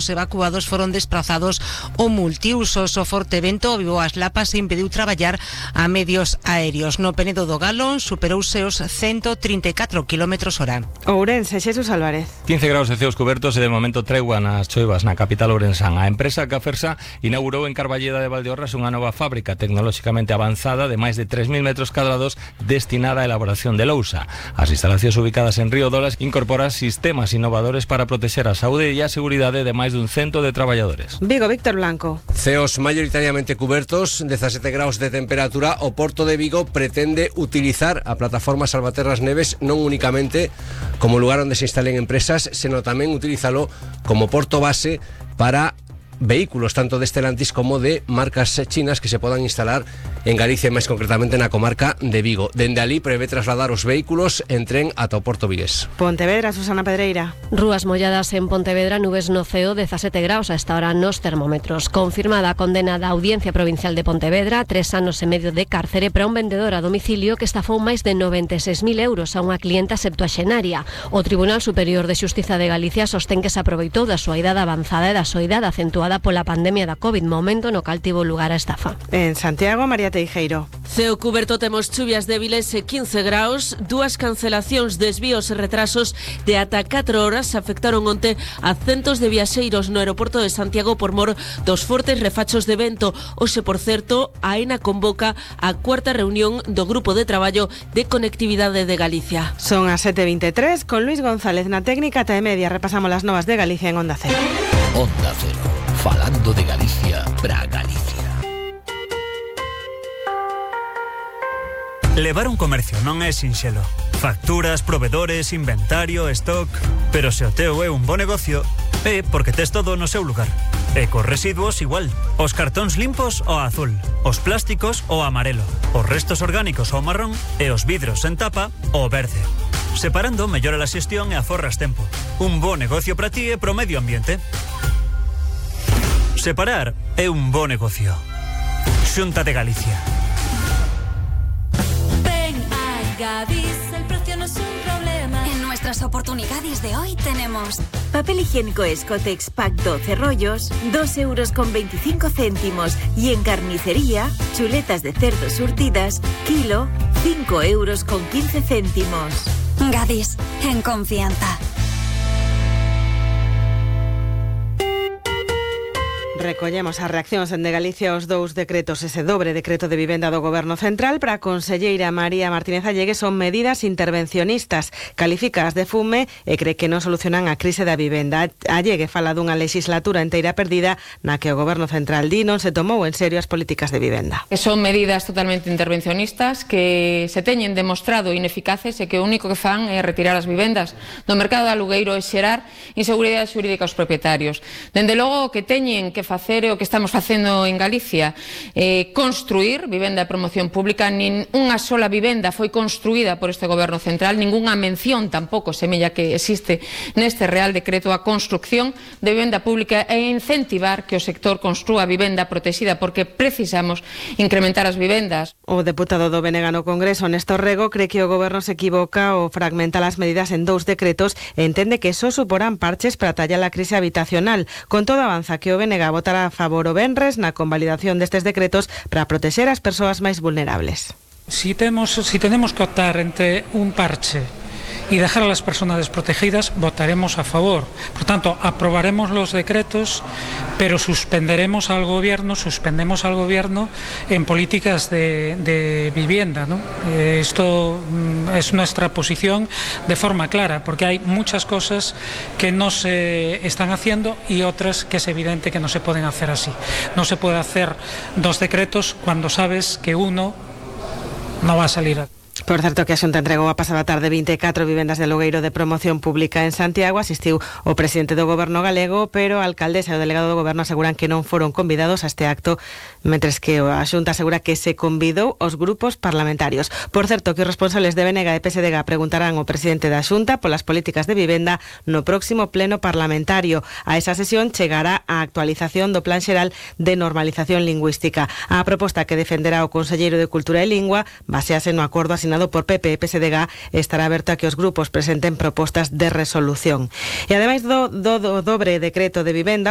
Os evacuados foron desprazados ao multiusos. O forte vento avivou as lapas e impediu traballar a medios aéreos. No Penedo do Galón superouse os 134 km/h. Ourense, Xesús Álvarez. 15 graus de ceos cubertos e de momento tregua nas choivas na capital ourensán. A empresa Cafersa inaugurou en Carballeda de Valdeorras unha nova fábrica tecnolóxicamente avanzada de máis de 3.000 metros cadrados destinada á elaboración de lousa. As instalacións ubicadas en Río Dolas incorporan sistemas innovadores para protexer a saúde e a seguridade de máis dun cento de traballadores. Vigo, Víctor Blanco. Ceos mayoritariamente cubertos, 17 graus de temperatura. O Porto de Vigo pretende utilizar a plataforma Salvaterras Neves non únicamente como lugar onde se instalen empresas, senón tamén utilízalo como porto base para vehículos tanto de Stellantis como de marcas chinas que se podan instalar en Galicia e máis concretamente na comarca de Vigo. Dende ali prevé trasladar os vehículos en tren ata o Porto vigués. Pontevedra, Susana Pedreira. Rúas molladas en Pontevedra, nubes no ceo, 17 graus a esta hora nos termómetros. Confirmada a condena da Audiencia Provincial de Pontevedra, 3 anos e medio de cárcere para un vendedor a domicilio que estafou máis de 96.000 euros a unha clienta septuaxenaria. O Tribunal Superior de Xustiza de Galicia sostén que se aproveitou da súa idade avanzada e da súa idade acentuada pola pandemia da COVID, momento no cal tivo lugar a estafa. En Santiago, María Teijeiro. Ceo cuberto, temos chuvias débiles e 15 graus, dúas cancelacións, desvíos e retrasos de ata 4 horas afectaron onte a centos de viaxeiros no aeroporto de Santiago por mor dos fortes refachos de vento. Hoxe, por certo, a AENA convoca a cuarta reunión do Grupo de Traballo de Conectividade de Galicia. Son as 7:23, con Luis González na técnica ata e media. Repasamos las novas de Galicia en Onda Cero. Onda Cero, falando de Galicia para Galicia. Levar un comercio non é sinxelo. Facturas, provedores, inventario, stock... Pero se o teu é un bo negocio, é porque tes todo no seu lugar. E cos residuos igual. Os cartóns limpos ao azul, os plásticos ao amarelo, os restos orgánicos ao marrón e os vidros en tapa ao verde. Separando mellora a xestión e aforras tempo. Un bo negocio para ti e pro medio ambiente. Separar é un bo negocio. Xunta de Galicia. Gadis, el precio no es un problema. En nuestras oportunidades de hoy tenemos papel higiénico Escotex Pack 12 rollos, 2,25 €. Y en carnicería, chuletas de cerdo surtidas, kilo, 5,15 €. Gadis, en confianza. Recollemos as reaccións de Galicia aos dous decretos, ese dobre decreto de vivenda do Goberno Central. Para a conselleira María Martínez Allegues son medidas intervencionistas, calificadas de fume e cree que non solucionan a crise da vivenda. Allegue fala dunha legislatura inteira perdida na que o Goberno Central di non se tomou en serio as políticas de vivenda. Que son medidas totalmente intervencionistas que se teñen demostrado ineficaces e que o único que fan é retirar as vivendas do mercado de alugueiro e xerar inseguridade xurídica aos propietarios. Dende logo o que teñen que facer o que estamos facendo en Galicia, construir vivenda de promoción pública. Nin unha sola vivenda foi construída por este Goberno Central, ningunha mención tampouco semella que existe neste Real Decreto a construcción de vivenda pública e incentivar que o sector construa vivenda protexida, porque precisamos incrementar as vivendas. O deputado do BNG no Congreso, Néstor Rego, cree que o Goberno se equivoca ao fragmentar as medidas en dous decretos e entende que só suporán parches para tallar a crise habitacional. Con todo, avanza que o BNG votará a favor o venres na convalidación destes decretos para protexer as persoas máis vulnerables. Si tenemos que optar entre un parche y dejar a las personas desprotegidas, votaremos a favor. Por tanto, aprobaremos los decretos, pero suspendemos al gobierno en políticas de vivienda, ¿no? Esto es nuestra posición de forma clara, porque hay muchas cosas que no se están haciendo y otras que es evidente que no se pueden hacer así. No se puede hacer dos decretos cuando sabes que uno no va a salir. Por certo, que a Xunta entregou a pasada tarde 24 vivendas de alugueiro de promoción pública en Santiago. Asistiu o presidente do Goberno galego, pero a alcaldesa e o delegado do Goberno aseguran que non foron convidados a este acto, mentres que a Xunta asegura que se convidou os grupos parlamentarios. Por certo, que os responsables de BNG e PSDG preguntarán ao presidente da Xunta polas políticas de vivenda no próximo pleno parlamentario. A esa sesión chegará a actualización do Plan Xeral de Normalización Lingüística. A proposta que defenderá o conselleiro de Cultura e Lingua basease no acordo asinado sinado por PP e PSDG, estará aberto a que os grupos presenten propostas de resolución. E ademais do dobre decreto de vivenda,